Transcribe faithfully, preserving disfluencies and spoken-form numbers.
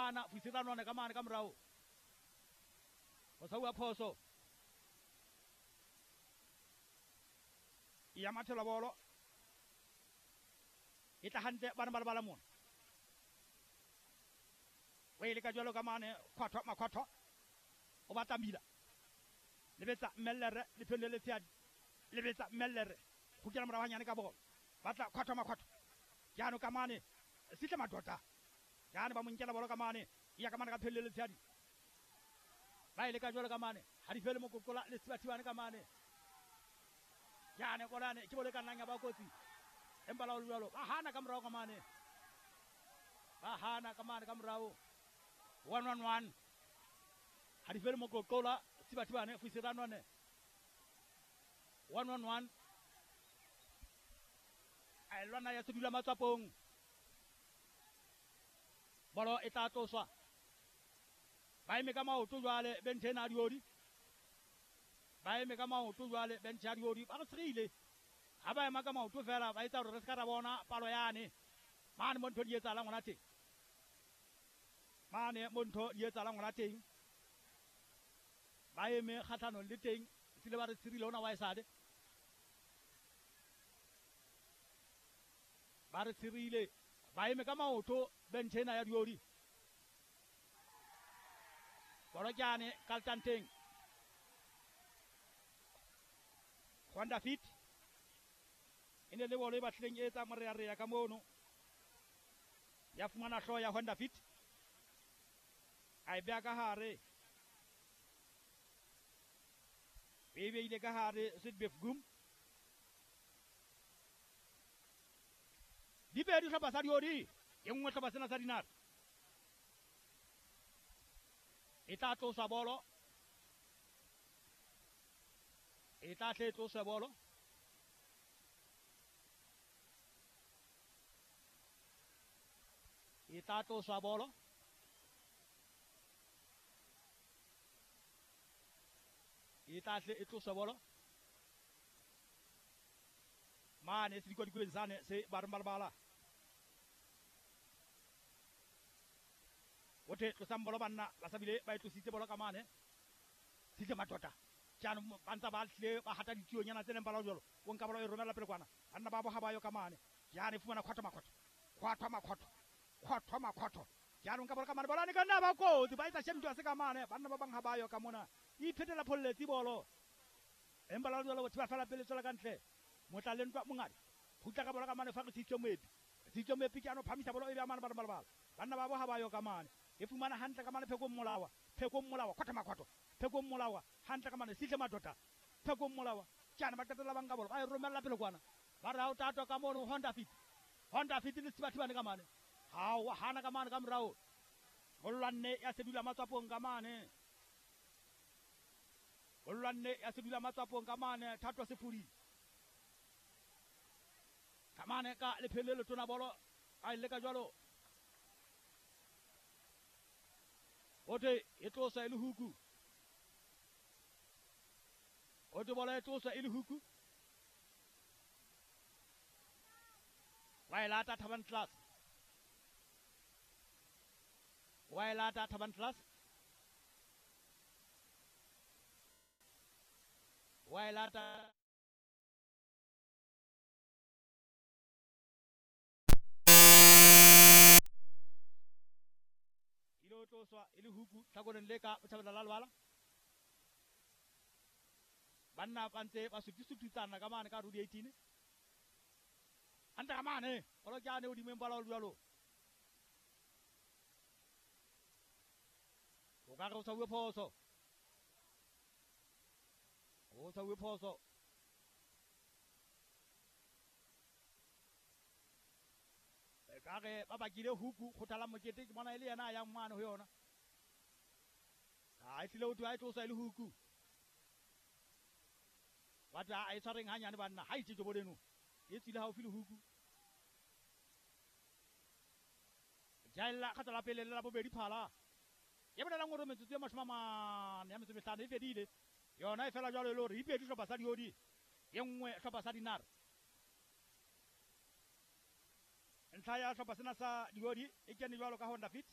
hana Fusiranone ka mane ka morao. Ho tshwauwa phoso. Ya mathela bolo. E tla hantle bana ba lebala mona. O e leka jwalo ka mane khwathwa makhwathwa. O batla mila. Lebetsa Mellere lephelo le letshehadi. Lebetsa Mellere. Kgutlela morao hanyane ka bolo. Batla khwathwa makhwathwa. Jaanong ka mane Sihle Madota. Jaanong ba mo nkela bolo ka mane. Ya ka mane ka phelo le letshehadi. Ba e leka jwalo ka mane. Ha di fele mokokola le Thibathibane ka mane. Jaanong bolane ke bolo e ka nnang ya ba kotsi. Empa la ho le jwalo ba hana ka morao ka mane. Ba hana ka mane ka morao. One one one. Ha di fele mokokola Thibathibane Fusiranone. One one one. A lwana ya sedula matswapong. Bolo e tla tloswa. Ba eme ka maoto jwale benthe ena ya diodi. Ba eme ka maoto jwale benthe ya diodi. Ba re tshirile. Ha ba ema ka maoto fela ba etsa hore re se ka ra bona palo yane. Mane mo ntho di etsahalang hona teng. Mane mo ntho di etsahalang hona teng. Ba eme kgahlanong le teng. Sile ba re tshirile hona wa esale. Ba re tshirile. Ba eme ka maoto benthe ena ya diodi. Bolo ke yane Kaltanteng. Honda Fit. E ne le bolo e batlileng e etsa morearea ka mono. Ya fumana hlooho ya Honda Fit. A e beha ka hare. E beile ka hare Sweetbeef Gum. Di pedi hlopha sa diodi. E nngwe hlopha sena sa dinare. E tla tloswa bolo. E tla tle tloswe bolo. E tla tloswa bolo. E tla tle e tloswe bolo. Mane se dikwadikweni sane se ba re balabala. O the tlosang bolo banna ba sa bile ba e tlositse bolo ka mane. Sihle Madota. Jaanong ba ntse ba tlile ba hata ditionyana tse neng ba la jwalo. O nka bolo e romela pele kwana. Banna ba bo ha ba yo ka mane. Jaanong fumana khwathwa makhwathwa. Khwathwa makhwathwa. Khwathwa makhwathwa. Jaanong ka bolo ka mane bolo ne ka nna ba kotsi ba etsa shemtwa se ka mane. Banna ba bang ha ba yo ka mona. E iphetela pholletsi bolo. Empa la jwalo batho ba fela pele tswela ka ntle. Motla le ntwa mongadi. Khutla ka bolo ka mane fa re Sitso Moepi. Sitso Moepi ke ano phamisa bolo e be mane ba balabala. Banna ba bo ha ba yo ka mane. E fumana hantle ka mane Phekong Molawa. Phekong Molawa khwathwa makhwathwa. Phekong Molawa hantle ka mane Sihle Madota. Phekong Molawa. Jaana ba qetella ba nka bolo ba e romella pele kwana. Ba re ha o tatwa ka mono Honda Fit. Honda Fit le Thibathibane ka mane. Ha o hana ka mane ka morao. Ho lwanne ya sedula matswapong ka mane. Ho lwanne ya sedula matswapong ka mane Thatwa Sefudi. Ka mane ka lephele le tona bolo a ile ka jwalo. Ote e tlosa e le huku. Ote bolo e tlosa e le huku. Wa e lata Thaban Class. Wa e lata Thaban Class. Wa e lata ilo tloswa e le huku tlhakoreng le ka botjhabela la lebala. Banna ba ntse ba sutisutitsana ka mane ka Rudi eighteen. Hantle ka mane bolo ke ane hodimo empa la ho le jwalo. O ka re o tshwauwe phoso. O tshwauwe phoso. E ka re ba bakile huku kgothala mokete ke bona e le yena a yang mane ho yona. Ha e tlile ho thwe ha e tlosa e le huku. Ba tla a e tshwareng hanyane banna ha itse jobo leno. E tswile haufi le huku. Jaella kgatla la pele le la bobedi phala. E bolelang hore metsotso e mashome a mane ya metso e mehlano e fedile. Yona e fela jwalo e le hore ipedi hlopha sa diodi. E nngwe hlopha sa dinare. Ntlha ya hlopha sena sa diodi e kene jwalo ka Honda Fit.